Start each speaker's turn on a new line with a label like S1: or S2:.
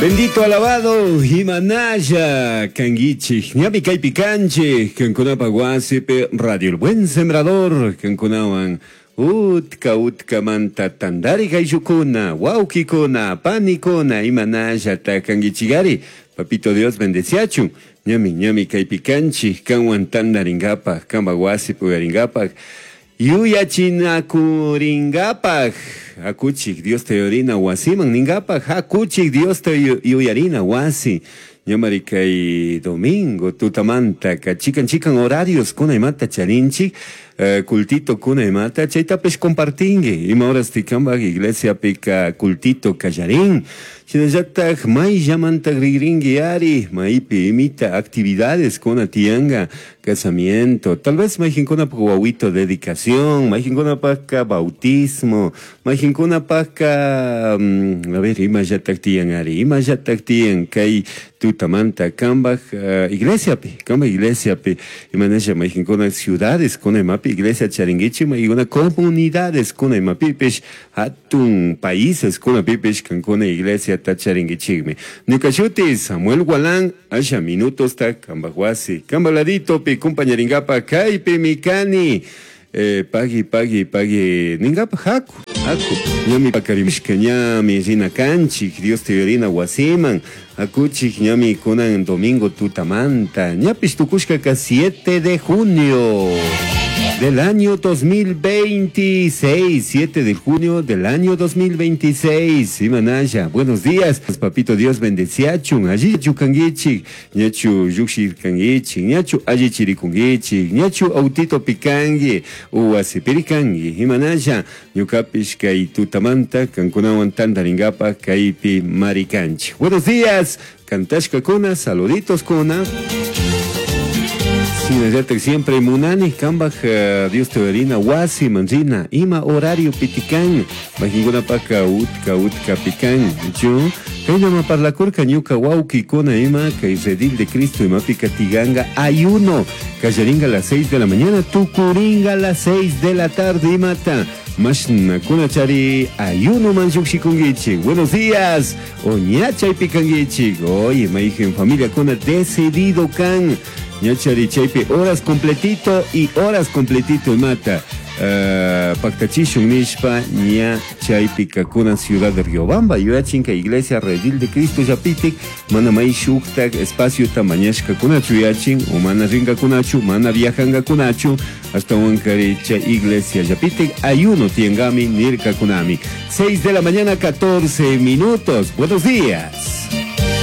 S1: Bendito alabado Himanaya kanguichik ñami kaypi kanchik kankunapa wasipi Radio El Buen Sembrador kankunawan utka utkamanta tandari ayllukuna wawkikuna panikuna imanallata kanguichigari Papito Dios bendeciachun ñami ñami kaypi kanchik kanwan tandarinkapak kanpak wasipi uyarinkapak yuyachinakurinkapak hakuchik Diosta yuyarina wasiman ninkapak hakuchik Diosta yuyarina wasi ñamari kay domingo tutamantaka chikan chikan horarios kuna imata charinchik cultito kuna imata chaytapish compartinki ima horasti kanpak iglesiapika cultito kallarin shinallatak mayllamanta rigrinki ari maypi imita actividades kuna tiyanka casamiento tal vez mayqinkunapak wawito dedicación mayqinkunapaka bautismo mayqinkunapaka a ver imallatak tiyan ari imallatak tiyan kay tutamanta kanpak iglesiapi kanpak iglesiapi imanasha mayqinkuna ciudades kuna imapi iglesia charinkichik mayqinkuna comunidades kuna imapipish hatun países kunapipish kankuna iglesiata charinkichikmi ñuka shuti Samuel Gualán asha minutosta kanpak wasi kanpak laditopi compañarinkapak kaypimi kani pagui pagui pagui ninkapak haku haku ñami pakarimishka ñami rina kanchik Diosta yuyarina wasiman hakuchik ñami kunan domingo tutamanta ñapish tukushkaka 7 de junio del año 2026, 7 de junio del año 2026. Imanaya, buenos días. Papito Dios bendeciachun, allichu kanguichik, ñachu llukshirkanguichik, ñachu allichirikunguichik, ñachu autito pikangui, uwasipirikangi. Imanaya, ñukapish kay tutamanta kankunawan tantarinkapak kaypi marikanchik. Buenos días, kantashkakuna, saluditos kuna. Shinallatak siempre munani kanpak Dios te yuyarina wasi manrina ima horario pitikan mayqinkunapaka utka utka pikan chu kaynama parlakurka ñuka wawkikuna ima kay redil de Cristo imapika tiyanka ayuno kallarinka a las 6 de la mañana tukurinka a las 6 de la tarde imata mashnakuna chari ayuno man llukshikunkichik buenos días o ña chaypi kankichik oye mayqin familiakuna decidido kan ñachari chaypi horas completito y horas completito imata paktachishun nishpa ña chaypi kunan ciudad de Riobamba yuyachinka iglesia Redil de Cristo llapitik mana may shuktak espaciota mañashkakunachu yuyachin o mana rinkakunachu mana viajankakunachu ashtawankari chay iglesia llapitik ayuno tiyankami nirkakunami 6 de la mañana 14 minutos buenos días.